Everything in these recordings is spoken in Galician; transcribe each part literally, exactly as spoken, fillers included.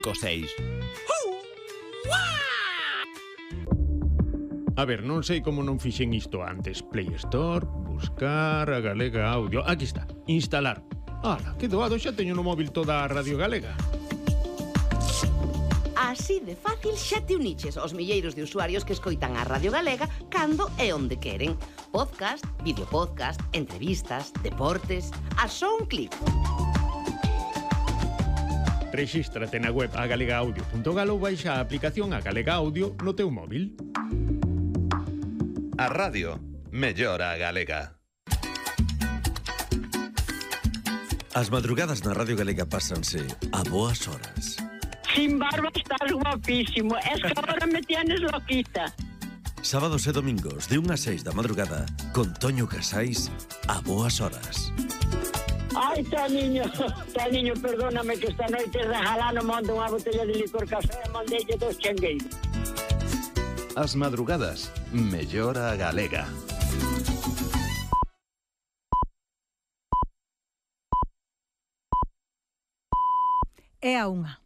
co seis. A ver, non sei como non fixen isto antes. Play Store, buscar a Galega Audio. Aquí está, instalar. Ala, que doado, xa teño no móvil toda a Radio Galega. Así de fácil xa te uniches aos milleiros de usuarios que escoitan a Radio Galega cando e onde queren. Podcast, videopodcast, entrevistas, deportes... A só un clic. Rexístrate na web a galega audio punto gal ou baixa a aplicación a Galega Audio no teu móvil. A radio mellora a galega. As madrugadas na Radio Galega pásanse a boas horas. Sin barba estás guapísimo. Es que ahora me tienes loquita. Sábados e domingos de unha a seis da madrugada con Toño Casais a boas horas. Ai, tá niño, tá niño, perdóname que esta noite rejalano mando unha botella de licor café e mandeille dos chengueiros. As madrugadas mellora a galega. É a unha.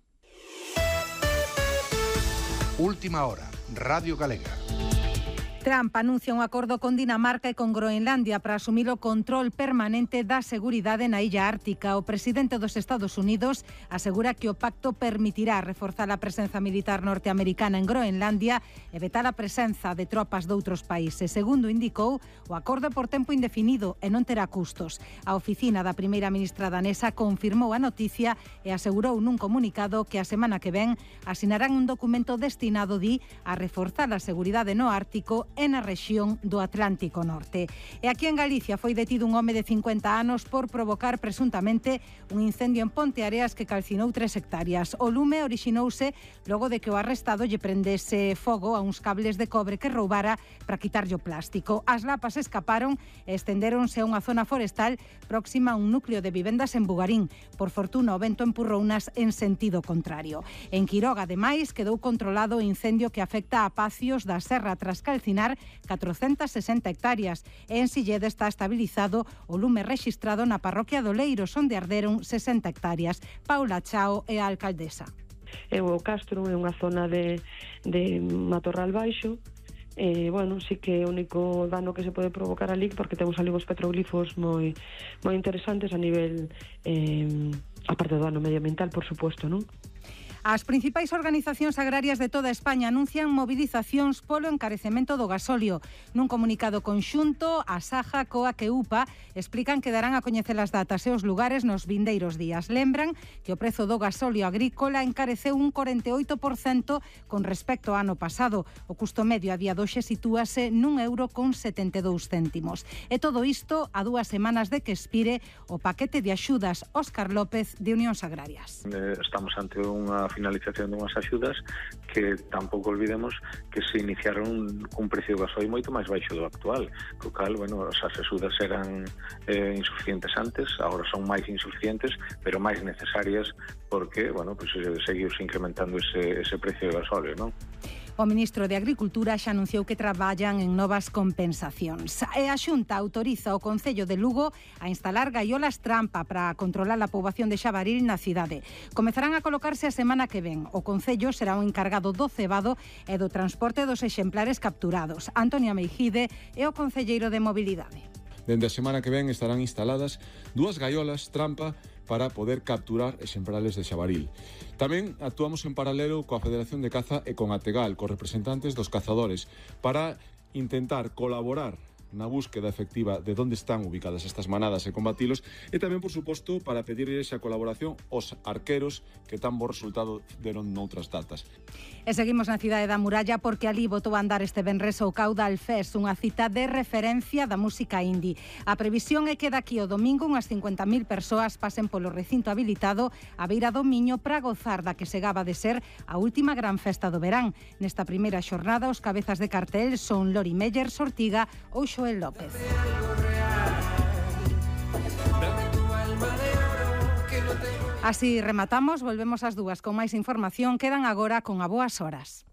Última hora, Radio Galega. Trump anuncia un acordo con Dinamarca e con Groenlandia para asumir o control permanente da seguridade na illa ártica. O presidente dos Estados Unidos asegura que o pacto permitirá reforzar a presenza militar norteamericana en Groenlandia e vetar a presenza de tropas doutros países. Segundo indicou, o acordo é por tempo indefinido e non terá custos. A oficina da primeira ministra danesa confirmou a noticia e asegurou nun comunicado que a semana que ven asinarán un documento destinado, di, a reforzar a seguridade no Ártico e na rexión do Atlántico Norte. E aquí en Galicia foi detido un home de cincuenta anos por provocar presuntamente un incendio en Ponteareas que calcinou tres hectáreas. O lume orixinouse logo de que o arrestado lle prendese fogo a uns cables de cobre que roubara para quitarlle o plástico. As lapas escaparon e estendéronse a unha zona forestal próxima a un núcleo de vivendas en Bugarín. Por fortuna, o vento empurrounas en sentido contrario. En Quiroga, ademais, quedou controlado o incendio que afecta a Pacios da Serra tras calcinar catrocentas sesenta hectáreas e en Silleda está estabilizado o lume rexistrado na parroquia do Leiros, onde arderon sesenta hectáreas. Paula Chao é a alcaldesa. E o Castro é unha zona de, de matorral baixo. E, bueno, sí que é o único dano que se pode provocar ali, porque temos ali os petroglifos moi, moi interesantes a nivel, eh, aparte do dano medioambiental, por suposto, non? As principais organizacións agrarias de toda España anuncian mobilizacións polo encarecemento do gasóleo. Nun comunicado conxunto, a Saja, Coac e UPA explican que darán a coñecer as datas e os lugares nos vindeiros días. Lembran que o prezo do gasóleo agrícola encareceu un corenta e oito por cento con respecto ao ano pasado. O custo medio a día doxe sitúase nun euro con setenta e dous céntimos. E todo isto a dúas semanas de que expire o paquete de axudas. Óscar López, de Unións Agrarias. Estamos ante unha finalización dunhas axudas que tampouco olvidemos que se iniciaron cun precio do gasoil moito máis baixo do actual, co cal, bueno, as axudas eran eh, insuficientes antes, agora son máis insuficientes, pero máis necesarias porque, bueno, pues seguiuse incrementando ese, ese precio do gasoil, non? O ministro de Agricultura xa anunciou que traballan en novas compensacións. E a Xunta autoriza o Concello de Lugo a instalar gaiolas trampa para controlar a poboación de xabaril na cidade. Comezarán a colocarse a semana que ven. O Concello será o encargado do cebado e do transporte dos exemplares capturados. Antonia Meijide é o concelleiro de Mobilidade. Dende a semana que ven estarán instaladas dúas gaiolas trampa para poder capturar exemplares de xabaril. Tamén actuamos en paralelo coa Federación de Caza e con Ategal, cos representantes dos cazadores, para intentar colaborar na búsqueda efectiva de onde están ubicadas estas manadas e combatilos, e tamén, por suposto, para pedir esa colaboración aos arqueros que tan bo resultado deron noutras datas. E seguimos na cidade da Muralla porque ali botou a andar este venres o Caudal Fest, unha cita de referencia da música indie. A previsión é que daqui o domingo unhas cincuenta mil persoas pasen polo recinto habilitado a beira do Miño para gozar da que segaba de ser a última gran festa do verán. Nesta primeira xornada, os cabezas de cartel son Lori Meyer, Sortiga ou Xoel López. Así rematamos, volvemos ás dúas con máis información. Quedan agora con A Boas Horas.